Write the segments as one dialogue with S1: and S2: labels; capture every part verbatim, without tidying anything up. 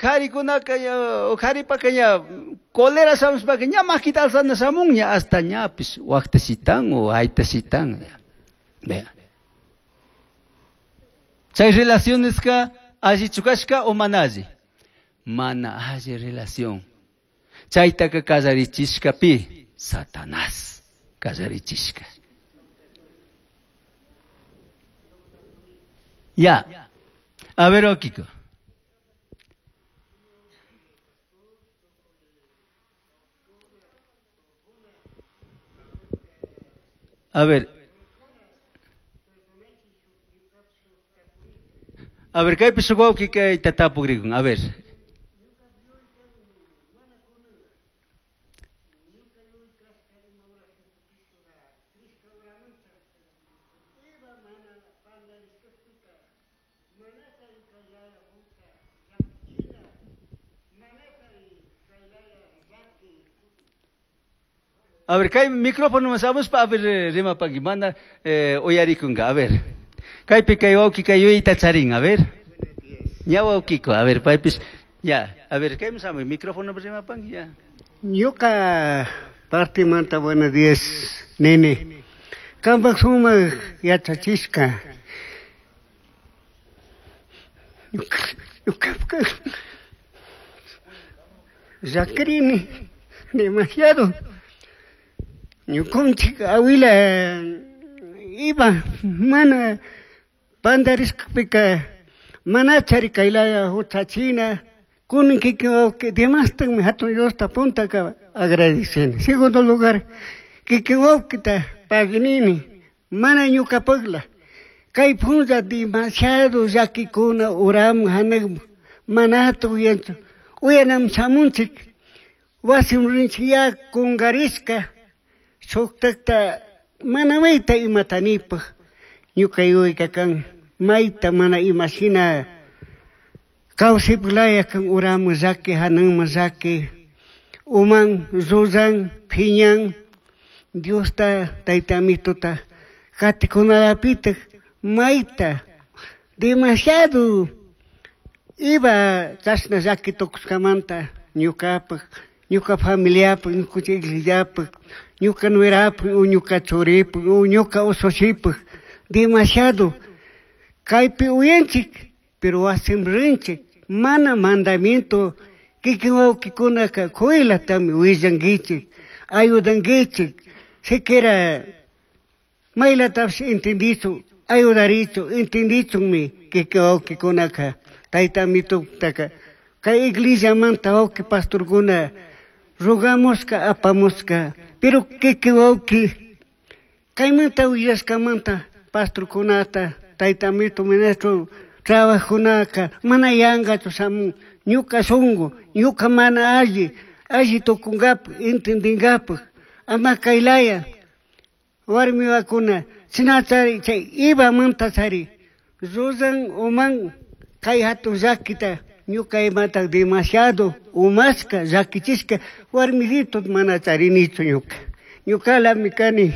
S1: Qharikunaka ña qharipaka ña cólera shamushpaka ña makita alzana shamun ña hasta ñapish waqta shitan o ayta shitan. Vea. Chay relacioneska allichu kashka o mana alli? Mana alli relación. Chaytaka kallarichishka pi? Satanás kallarichishka. Ya. A ver, Okiko. A ver. A ver, kaypi shuk wawqi kayta tapukrikun. A ver. A ver, kay micrófono shamushpa, a ver, rimapaki, mana eh, uyarikunka, a ver. Kaypi kay wawqi kay yuyayta charin, a ver. Ña wawqiko, a ver, paypish, ya, a ver, kaymi shamuy, micrófono rimapanki, ya.
S2: Ñuka partimanta buenos días, nene. Kampak sumak yachachishka. Ñuka, llakrini demasiado. Ñukanchik awila iba mana pandarishkapika mana chari kaylaya huchachina kunan kikin wawqi demastakmi hatun Diosta puntaka agradeceni. Segundo lugar, kikin wawqita paginini mana ñukapakla kay punlla demasiado llakikuna uramun hanakmun manata uyanchu uyanam shamunchik wasim rinchik ya kunkarishka shuktakta mana mayta imata nipaj ñuka yuyayka kan mayta mana imashina kawsaypak kan uramun llaki hananman llaki uman rullan phiñan Diosta tayta amituta katikunalapitak mayta demasiado iba chashna llaki tukushkamanta ñukapak ñuka familiapak ñukanchik iglesiapak ñuka nuerapak o ñuka churipak o ñuka ushushipak demasiado kaypi uyanchik pero wasim rinchik mana mandamiento kikin wawqikunaka kuylatami willankichik ayudankichik siquiera maylatapish entendichun ayudarichun entendichunmi kikin wawqikunaka tayta amitutaka kay iglesiamanta wawqi pastorkuna rogamushka apamushka pero kikin wawqi kaymanta willashkamanta pastorkunata tayta amito ministro trabajunaka mana yankachu shamun ñuka shunku ñuka mana alli alli tukunkapak entendinkapak ama kaylaya warmiwakuna chinachari chay ibamanta chari rullan uman kay hatun llakita ñuka imata demasiado umashka llakichishka warmisito mana charinichu ñuka ñukalami kani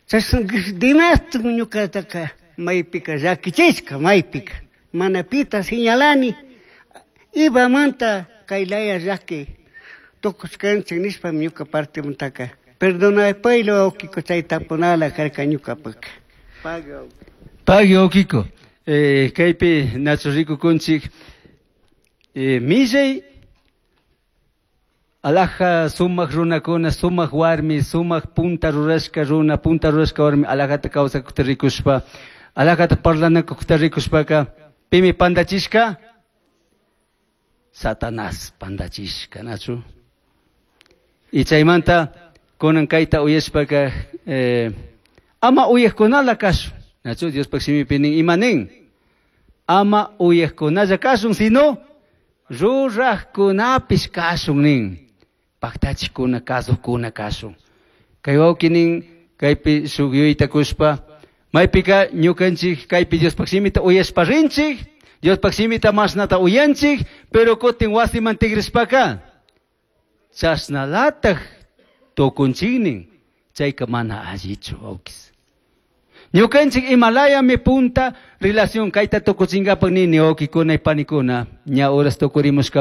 S2: chashna demastik ñukataka maypika llakichishka maypika mana pita señalani ibamanta kaylaya llaki tukushkanchik nishpami ñuka partimantaka perdonapayla wawqiko chay tapunala karka ñukapaka.
S1: Pagui wawqiko. Eh, kaypi nachu rikukunchik eh, millay alaja sumak runakuna sumak warmi sumak punta rurashka runa punta rurashka warmi alajata kawsakukta rikushpa alajata parlanakukta rikushpaka pimi pandachishka Satanás pandachishka nachu y chaymanta kunan kayta uyashpaka eh, ama uyajkunala kashun nachu Diospaq shimipi nin ima nin ama uyajkunalla kashun sino rurajkunapish kashun nin paktachikuna kasukuna kashun kay wawqi nin kaypi shuk yuyayta kushpa maypika ñukanchik kaypi Diospaq shimita uyashpa rinchik Diospaq shimita mashnata uyanchik pero kutin wasiman tigrishpaka chashnalataj tukunchiknin chayka mana allichu wawqis ñukanchik imalayami punta relación kayta tukuchinkapak nini wawqikuna y panikuna ña horas tukurimushka.